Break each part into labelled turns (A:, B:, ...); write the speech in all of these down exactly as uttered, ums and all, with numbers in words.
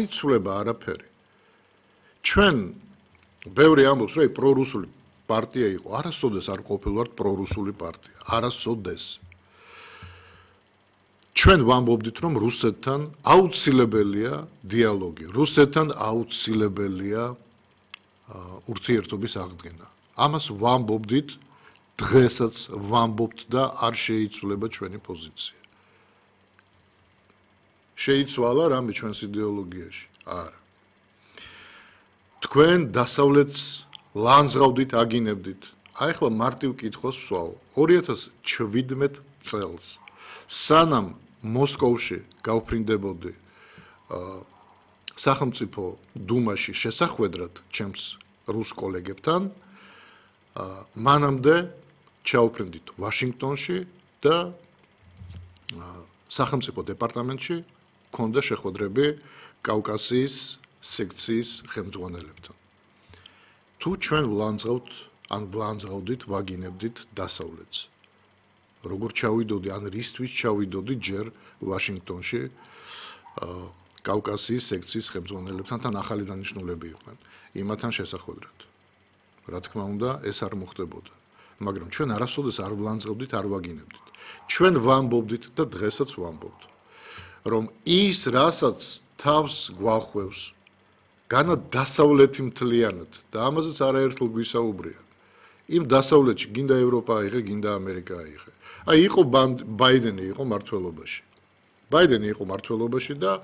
A: იცვლება არაფერი. ჩვენ ბევრი ამბობს, რომ პრორუსული პარტია იყო, არასოდეს არ ყოფილვართ პრორუსული პარტია, არასოდეს. ჩვენ ვამბობდით, რომ რუსეთთან აუცილებელია დიალოგი, რუსეთთან აუცილებელია ურთიერთობის აღდგენა. ამას ვამბობდით, დღესაც ვამბობთ და არ შეიცვლება ჩვენი პოზიცია. შეიცვალა რამე ჩვენს იდეოლოგიაში? არა. თქვენ დასავლეთს ლანძღავდით, აგინებდით. აი ახლა მარტივ კითხვას ვსვავ. ორი ათას შვიდმეტ წელს სანამ მოსკოვში გავფრინდებოდი სახელმწიფო დუმაში შესახვედრად ჩემს რუს კოლეგებთან, მანამდე ჩავფრინდით ვაშინგტონში და სახელმწიფო დეპარტამენტში ქონდა შეხვედრები კავკასიის სექციის ხელმძღვანელებთან. თუ ჩვენ ვლანძღავთ, ან ვლანძღავდით, ვაგინებდით დასავლეთს. როგორ ჩავიდოდი, ან რისთვის ჩავიდოდი ჯერ ვაშინგტონში კავკასიის სექციის ხელმძღვანელებთან, თან ახალი დანიშნულები იყვნენ იმათთან შესახვედრად. რა თქმა უნდა, ეს არ მოხდებოდა. მაგრამ ჩვენ არასოდეს არ ვლანძღავდით, არ ვაგინებდით. ჩვენ ვამბობდით და დღესაც ვამბობთ, რომ ის, რასაც თავს გვახვევს, განა დასავლეთი მთლიანად და ამაზეც არაერთხელ გვისაუბრია. იმ დასავლეთში გინდა ევროპა აიღე, გინდა ამერიკა აიღე. აი იყო ბაიდენი იყო მართლობაში. ბაიდენი იყო მართლობაში და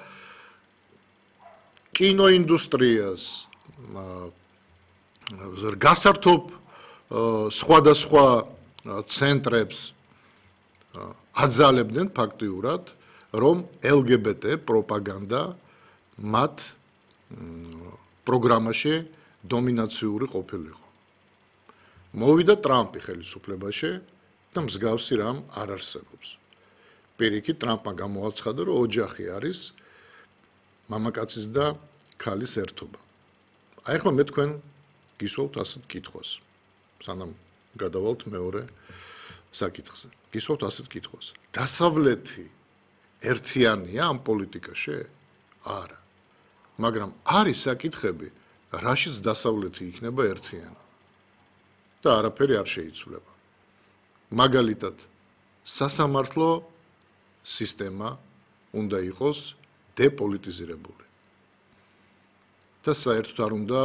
A: კინოინდუსტრიას გასართობ სხვადასხვა ცენტრებს აძალებდნენ ფაქტიურად, რომ ელგებეტე პროპაგანდა მათ პროგრამაში დომინაციური ყოფილიყო. მოვიდა ტრამპი ხელისუფლებაში და მსგავსი რამ არ არსებობს. პირიქით ტრამპმა გამოაცხადა, რომ ოჯახი არის მამაკაცის და ქალის ერთობა. აი ახლა მე თქვენ გისვავთ ასეთ კითხვას. სანამ გადავალთ მეორე საკითხზე. გისვავთ ასეთ კითხვას. დასავლეთი ერთიანია ამ პოლიტიკაში? არა. მაგრამ არის საკითხები, რაშიც დასავლეთი იქნება ერთიანი. და არაფერი არ შეიცვლება. მაგალითად, სასამართლო სისტემა უნდა იყოს დეპოლიტიზირებული. და საერთოდ არ უნდა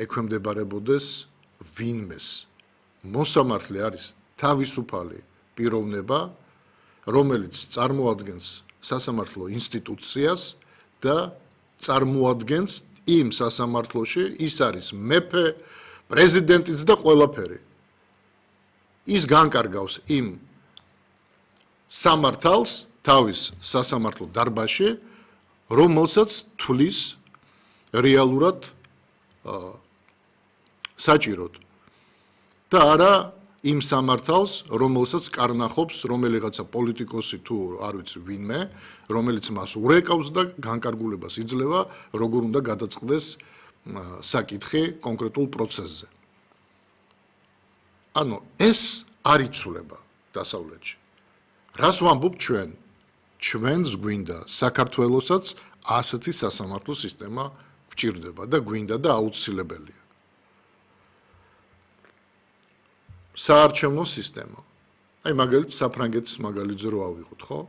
A: ექვემდებარებოდეს ვინმეს. მოსამართლე არის თავისუფალი პიროვნება, რომელიც წარმოადგენს სასამართლო ინსტიტუციას და წარმოადგენს იმ სასამართლოში, ის არის მეფე, პრეზიდენტიც და ყველაფერი. ის განკარგავს იმ სამართალს თავის სასამართლო დარბაზში, რომელსაც თვლის რეალურად საჭიროდ და არა იმ სამართალს, რომელსაც კარნახობს რომელიღაცა პოლიტიკოსი თუ არ ვიცი ვინმე, რომელიც მას ურეკავს და განკარგულებას იძლევა, როგორ უნდა გადაწყდეს საკითხი კონკრეტულ პროცესზე. ანუ ეს არ იცვლება დასავლეთში. რას ვამბობ ჩვენ? ჩვენს გვინდა საქართველოსაც ასეთი სასამართლო სისტემა გვჭირდება და გვინდა და აუცილებელია. საარჩევნო სისტემა. აი მაგალითად საფრანგეთის მაგალითზე რო ავიღოთ, ხო?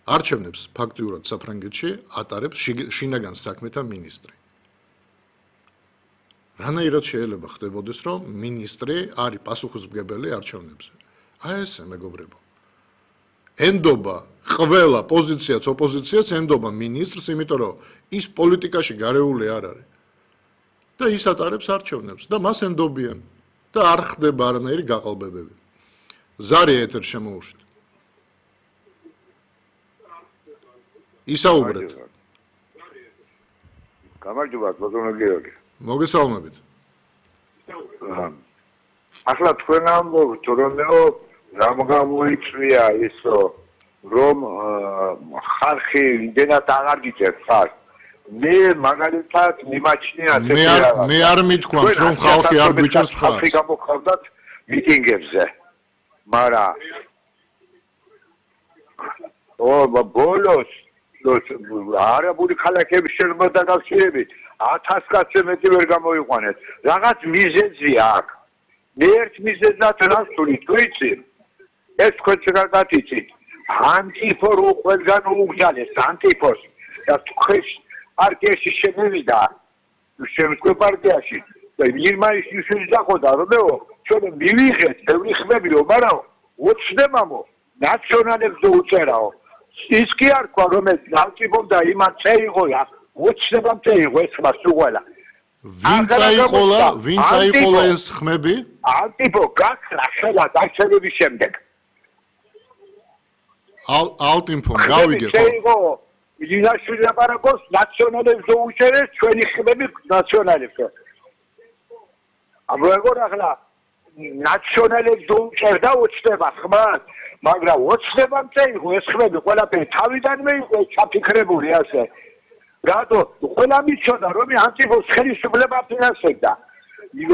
A: არჩევნებს ფაქტიურად საფრანგეთში ატარებს შინაგან საქმეთა მინისტრი. რანაირად შეიძლება ხდებოდეს, რომ მინისტრი არის პასუხისმგებელი არჩევნებზე? აი ესე მეგობრებო. ენდობა ყველა პოზიციაც, ოპოზიციაც ენდობა მინისტრს, იმიტომ რომ ის პოლიტიკაში გარეული არ არის. და ის ატარებს არჩევნებს და მას ენდობიან და არ ხდება არანაირი გაყალბებები. ზარი ეთერ შემოუშვით. ისაუბრეთ.
B: გამარჯობა, ბატონო გიორგი.
A: მოგესალმებით.
B: ახლა თქვენ ამბობთ, რომეო რამ გამოიწვია ისო, რომ ხალხი იმდენად აღარ გიწერთ ხარ. მე მაგალითად მიმაჩნია
A: მე არ მე არ მithქვამს, რომ ხალხი არ გვიჭერს ხარ.
B: ხალხი გამოგხავდათ მიტინგებზე. მაგრამ ო ბოლოს არაბული ქალაქების შენობა დაკავშირებით ათას კაცზე მეტი ვერ გამოიყვანეთ. რაღაც მიზეზია აქ. მე ერთ მიზეზად რასული თქვიცი. ეს თქვენც კარგად იცით. ანტიფორ ყველგან უგზალეს ანტიფორს და თქვენ პარტიაში შემოვიდა შემდგომ პარტიაში და ირმაის ისიც დახოდა რომეო ჩვენ მივიღეთ ბევრი ხმებიო მაგრამ უცნებამო ნაციონალებს უწერაო ის კი არ თქვა რომ ეს ანტიფორ და იმან წეიღოა უცნებამ წეიღო ეს ხმა სულ
A: ვინ წაიყოლა ვინ წაიყოლა ეს ხმები
B: ანტიფორ გაქრა ხელა დაშენების შემდეგ
A: ალტინფომ გავიგე
B: ხო ილაშვილი აპარაკოს ნაციონალებს უჩერეს ჩვენი ხმები ნაციონალებს აბა როგორ ახლა ნაციონალებს უჩერდა უჩნდება ხმას მაგრამ უჩნდება წეიღო ეს ხმები ყველაფერი თავიდანვე იყო ჩაფიქრებული ასე რატო ყველა მიცოდა რომ ანტიფოს ხელისუფლება ფინანსებდა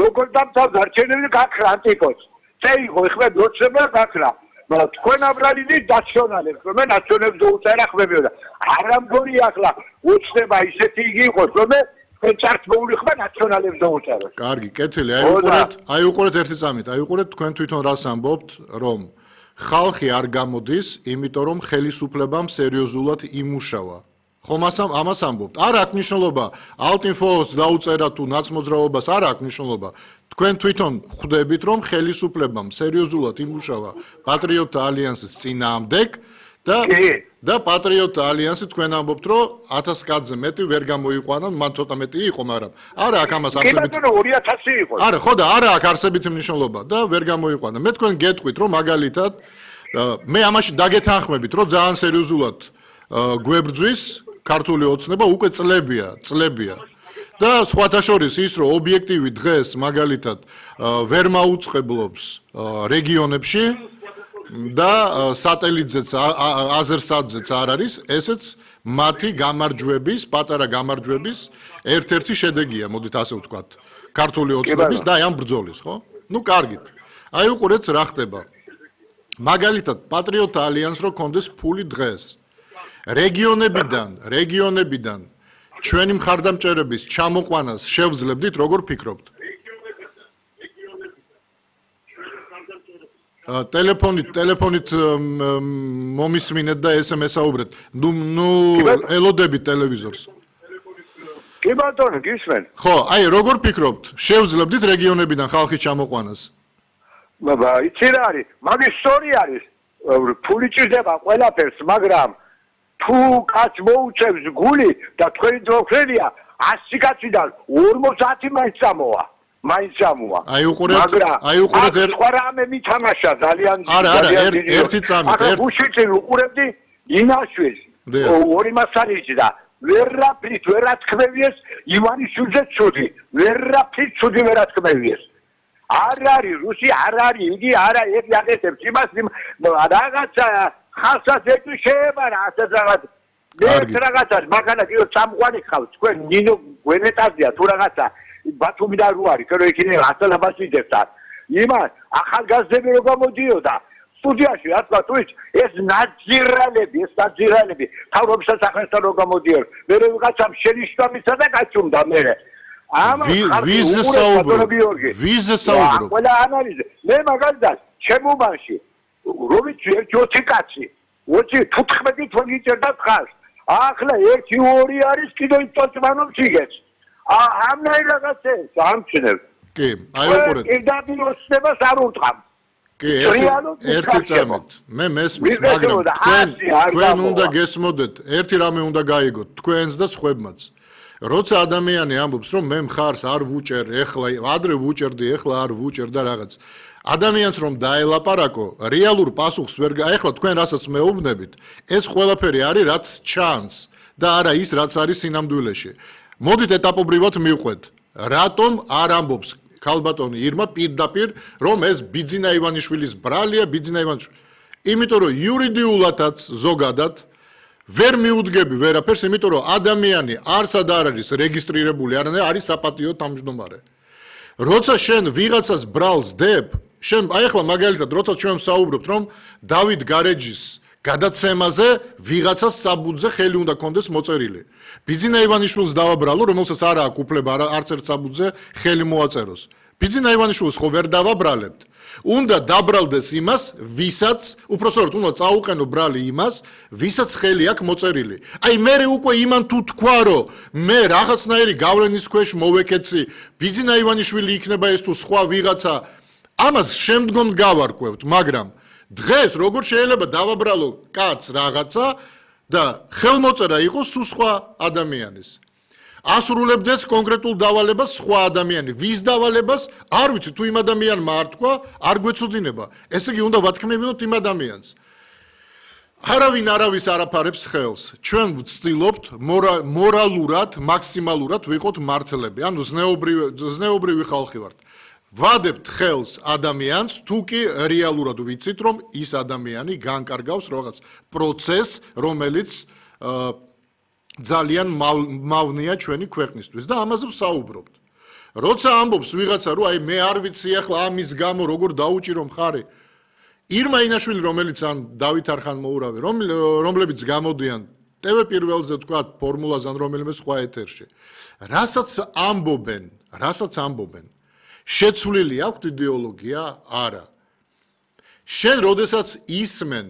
B: როგორ დამთავრდა არჩევნები გაქრა ანტიფოს წეიღო ხმები უჩნდება გაქრა მაგრამ თქვენ აბრალინი ნაციონალებს რომ ნაციონალებს უწერა ხმებიო და არ ამგონი ახლა უჩნდება ისეთი იგი იყოს რომ თქვენ წარსული ხმა ნაციონალებს უწერა.
A: კარგი, კეთილი, აი უყურეთ, აი უყურეთ ერთი წამით, აი უყურეთ თქვენ თვითონ რას ამბობთ, რომ ხალხი არ გამოდის, იმიტომ რომ ხელისუფლებამ სერიოზულად იმუშავა. ხომ ამას ამბობთ. არ აქვს მნიშვნელობა ალტინფოს დაუწერა თუ ნაცმოძრაობას არ აქვს მნიშვნელობა. თქვენ თვითონ ხვდებით რომ ხელისუფლებამ სერიოზულად იმუშავა პატრიოტთა ალიანსის წინააღმდეგ და და პატრიოტთა ალიანსი თქვენ ამბობთ რომ ათას კაცზე მეტი ვერ გამოიყვანა, მან ცოტა მეტი იყო, მაგრამ არა აქვს ამას არსებით.
B: კი ბატონო ორი ათასი იყო.
A: არა, ხო და არა აქვს არსებითი მნიშვნელობა და ვერ გამოიყვანა. მე თქვენ გეტყვით რომ მაგალითად მე ამაში დაგეთანხმებით რომ ძალიან სერიოზულად გვებრძვის ქართული ოცნება უკვე წლებია, წლებია. და სხვათა შორის ის რომ ობიექტივი დღეს მაგალითად ვერ მაუწყებლობს რეგიონებში და სატელიტზეც აზერსატზეც არ არის, ესეც მათი გამარჯვების, პატარა გამარჯვების ერთ-ერთი შედეგია, მოდით ასე ვთქვათ, ქართული ოცნების და ამ ბრძოლის, ხო? ნუ კარგით. აი უყურეთ რა ხდება. მაგალითად, პატრიოტთა ალიანსს რო კონდეს ფული დღეს. რეგიონებიდან, რეგიონებიდან ჩვენი მხარდამჭერების ჩამოყვანას შევძლებდით, როგორ ფიქრობთ? ტელეფონით, ტელეფონით მომისმინეთ და ესემესაუბრეთ. ნუ, ნუ ელოდებით ტელევიზორს.
B: კი ბატონო, გისმენ.
A: ხო, აი, როგორ ფიქრობთ? შევძლებდით რეგიონებიდან ხალხის ჩამოყვანას?
B: ბაბა, იცი რა არის? მაგის სწორი არის. ფული ჭირდება ყველაფერს, მაგრამ თუ კაც მოუწევს გული და თქვენი დროხელია ასი კაციდან ორმოცი მაინც წამოვა მაინც წამოვა
A: აი უყურეთ აი უყურეთ
B: სხვა რამე მითამაშა ძალიან
A: არა არა ერთი წამით
B: ერთ უშიჭი უყურებდი ინაშვეს ორი მასალიჭი და ვერაფრით ვერათქმევიეს ივანიშვილზე ცუდი ვერაფრით ცუდი ვერათქმევიეს არ არის რუსი არ არის იგი არა ერთი აკეთებს იმას რაღაცა ხალხსაც ეტყვი შეებარა ასეთ რაღაც მე რაღაცა მაგალითად იო წამყვანი ხავს თქვენ ნინო გვენეტაზია თუ რაღაცა ბათუმიდან რო არის რომ იქნე ასალაბაშიძებს იმან ახალგაზრდები რო გამოდიოდა სტუდიაში რა თქვა თუ ეს ნაძირალები ეს ნაძირალები თავრობის სახელთან რო გამოდიოდა მე რაღაცამ შენიშნავისა და გაჩუმდა მე ამას
A: ვიზე საუბრობ ვიზე საუბრობ
B: ყველა ანალიზი მე მაგალითად ჩემუბანში რომიც ერთი ოცი კაცი ოცი თუთხმეტი თქვენ გიჭერდა ხალხს ახლა ერთი ორი არის კიდევ წოწმანობს იგებს ამნაირ რაღაცებს ამჩნევ
A: კი აი უყურეთ
B: პირდაპირ ოცნებას არ უტყამ
A: კი ერთი წამით მე მესმის მაგრამ თქვენ თქვენ უნდა გესმოდეთ ერთი რამე უნდა გაიგოთ თქვენს და სხვებმაც როცა ადამიანი ამბობს რომ მე მხარს არ ვუჭერ ეხლა ადრე ვუჭერდი ეხლა არ ვუჭერ და რაღაც ადამიანს რომ დაელაპარაკო რეალურ პასუხს ვერ ეხლა თქვენ რასაც მეუბნებით ეს ყველაფერი არის რაც ჩანს და არა ის რაც არის სინამდვილეში მოდით ეტაპობრივად მივყვეთ რატომ არ ამბობს ქალბატონი ირმა პირდაპირ რომ ეს ბიძინა ივანიშვილის ბრალია ბიძინა ივანიშვილი იმიტომ რომ იურიდიულადაც ზოგადად ვერ მიუდგები ვერაფერს იმიტომ რომ ადამიანი არსად არ არის რეგისტრირებული არამედ არის საპატიო თავმჯდომარე როცა შენ ვიღაცას ბრალს დებ შენ აი ახლა მაგალითად როცა ჩვენ საუბრობთ რომ დავით გარეჯის გადაცემაზე ვიღაცას საბუთზე ხელი უნდა კონდეს მოწერილი. ბიძინა ივანიშვილს დავაბრალო, რომელსაც არ აქვს უფლება არც ერთ საბუთზე ხელი მოაწეროს. ბიძინა ივანიშვილს ხო ვერ დავაბრალებთ. უნდა დაბრალდეს იმას, ვისაც, უпростоროდ უნდა წაუყენო ბრალი იმას, ვისაც ხელი აქვს მოწერილი. აი მე უკვე იმან თუ თქვა, რომ მე რაღაცნაირი გავლენის ქვეშ მოვეკეცი, ბიძინა ივანიშვილი იქნება ეს თუ სხვა ვიღაცა, ამას შემდგომ გავარკვევთ, მაგრამ დღეს როგორ შეიძლება დავაბრალო კაცს რაღაცა და ხელმოწერა იყოს სულ სხვა ადამიანის. ასრულებდეს კონკრეტულ დავალებას სხვა ადამიანი. ვის დავალებას არ ვიცი, თუ იმ ადამიანმა არ თქვა, არ გვეცოდინება. ესე იგი უნდა ვათქმევინოთ იმ ადამიანს. არავინ არავის არაფარებს ხელს. ჩვენ ვცდილობთ მორალურად, მაქსიმალურად ვიყოთ მართლები. ანუ ზნეობრივი ზნეობრივი ხალხი ვართ. ვადებთ ხელს ადამიანს, თუ კი რეალურად ვიცით, რომ ის ადამიანი განკარგავს რაღაც პროცესს, რომელიც ძალიან მავნეა ჩვენი ქვეყნისთვის და ამაზე ვსაუბრობთ. როცა ამბობს ვიღაცა, რომ აი მე არ ვიცი ახლა ამის გამო როგორ დაუჭირო მხარი. ირმა ინაშვილი, რომელიც ან დავით არხანმოურავი, რომლებიც გამოდიან ტევ პირველზე თქვა ფორმულაზე ან რომელიმე სხვა ეთერში. რასაც ამბობენ, რასაც ამბობენ შეცვლილი აქვს იდეოლოგია? არა. შენ როდესაც ისმენ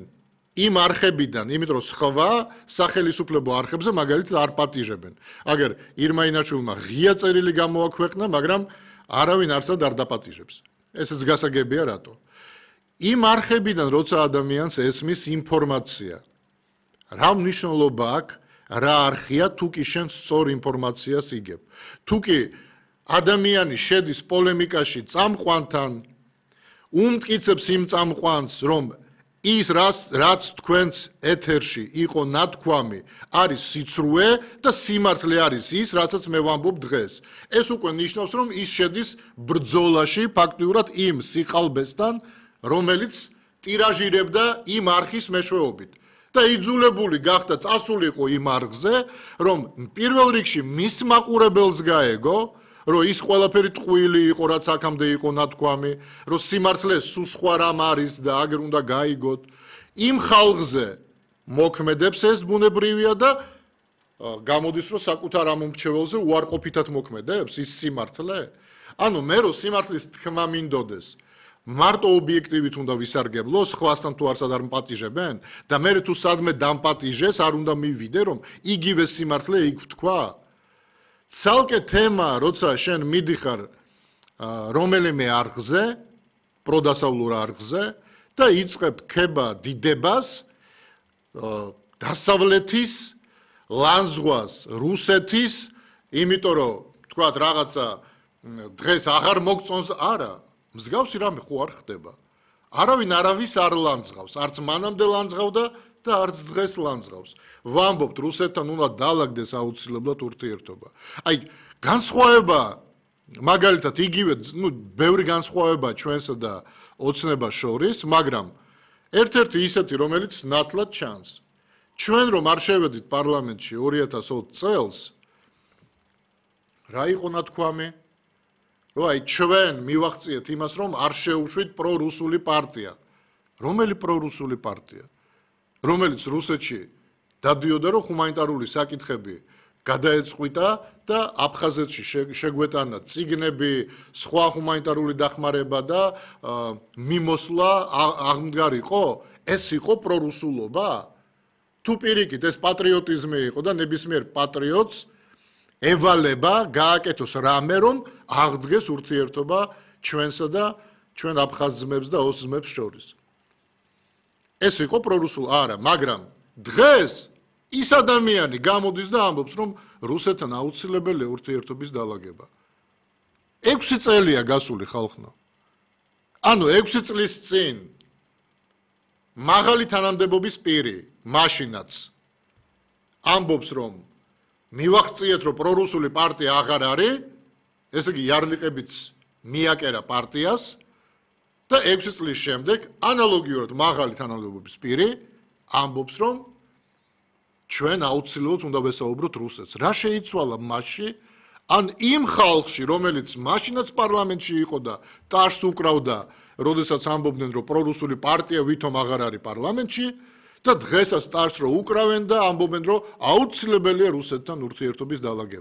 A: იმ არხებიდან, იმიტომ რომ სხვა სახელისუფლებო არხებზე მაგალითად არ პატიჟებენ. აგერ ირმა ინაჩვილმა ღია წერილი გამოაქვეყნა, მაგრამ არავინ არსად არ დაპატიჟებს. ესეც გასაგებია რატო? იმ არხებიდან როცა ადამიანს ესმის ინფორმაცია, რა მნიშვნელობა აქვს, რა არხია, თუ კი შენ სწორ ინფორმაციას იგებ. თუ კი ადამიანი შედის პოლემიკაში წამყვანთან, უმტკიცებს იმ წამყვანს, რომ ის რაც თქვენს ეთერში იყო ნათქვამი, არის სიცრუე და სიმართლე არის ის, რასაც მე ვამბობ დღეს. ეს უკვე ნიშნავს, რომ ის შედის ბრძოლაში ფაქტიურად იმ სიყალბესთან, რომელიც ტირაჟირებდა იმ არხის მეშვეობით. და იძულებული გახდა წასულიყო იმ არხზე, რომ პირველ რიგში მის მაყურებელს გაეგო, რომ ის ყველაფერი ტყუილი იყო, რაც აქამდე იყო ნათქვამი, რომ სიმართლე სულ სხვა რამ არის და აგერ უნდა გაიგოთ. იმ ხალხზე მოქმედებს ეს ბუნებრივია და გამოდის, რომ საკუთარ ამ მომრჩეველზე უარყოფითად მოქმედებს ის სიმართლე. ანუ მე რომ სიმართლის თქმა მინდოდეს, მარტო ობიექტივით უნდა ვისარგებლო, სხვასთან თუ არსად არ მპატიჟებენ და მე თუ სადმე დამპატიჟეს, არ უნდა მივიდე, რომ იგივე სიმართლე იქ თქვა. ცალკე თემა, როცა შენ მიდიხარ რომელიმე არხზე, პროდასავლურ არხზე და იწყებ ქება დიდებას, დასავლეთის, ლანზღვას, რუსეთის, იმიტომ რომ თქვათ რაღაცა დღეს აღარ მოგწონს, არა, მსგავსი რამე ხო არ ხდება. არავინ არავის არ ლანძღავს, არც მანამდე ლანძღავდა და არც დღეს ლანძღავს. ვამბობთ, რუსეთთან უნდა დაალაგდეს აუცილებლად ურთიერთობა. აი, განსხვავება, მაგალითად, იგივე, ну, ბევრი განსხვავება ჩვენსა და ოცნებას შორის, მაგრამ ერთ-ერთი ისეთი, რომელიც ნათლად ჩანს. ჩვენ რომ არ შევედით პარლამენტში ორი ათას ოცი წელს, რა იყო ნათქვამი? რომ აი ჩვენ მივახციეთ იმას, რომ არ შეუშვით პრორუსული პარტია. რომელი პრორუსული პარტია? რომელიც რუსეთში დადიოდა, რომ ჰუმანიტარული საკითხები გადაეწყვიტა და აფხაზეთში შეგვეტანა წიგნები, სხვა ჰუმანიტარული დახმარება და მიმოსვლა აღმდგარიყო? ეს იყო პრორუსულობა? თუ პირიქით ეს პატრიოტიზმი იყო და ნებისმიერ პატრიოტს ევალება გააკეთოს რამე, რომ აღდგეს ურთიერთობა ჩვენსა და ჩვენ აფხაზ ძმებს და ოს ძმებს შორის. ეს იყო პრორუსული, არა, მაგრამ დღეს ის ადამიანი გამოდის და ამბობს, რომ რუსეთთან აუცილებელია ურთიერთობის დაალაგება. ექვსი წელია გასული ხალხო. ანუ ექვსი წლის წინ მაღალი თანამდებობის პირი, მაშინაც ამბობს, რომ მივახციეთ, რომ პრორუსული პარტია აღარ არის, ესე იგი იარლიყებიც მიაკერა პარტიას და ექვსი წლის შემდეგ ანალოგიურად მაღალი თანამდებობის პირი ამბობს, რომ ჩვენ აუცილებლად უნდა ვესაუბროთ რუსეთს. რა შეიცვალა მასში? ან იმ ხალხში, რომელიც მაშინაც პარლამენტში იყო და ტაშს უკრავდა, როდესაც ამბობდნენ, რომ პრორუსული პარტია ვითომ აღარ არის პარლამენტში, და დღესაც სტარს რო უკრავენ და ამბობენ რომ აუცილებელია რუსეთთან ურთიერთობის დალაგება.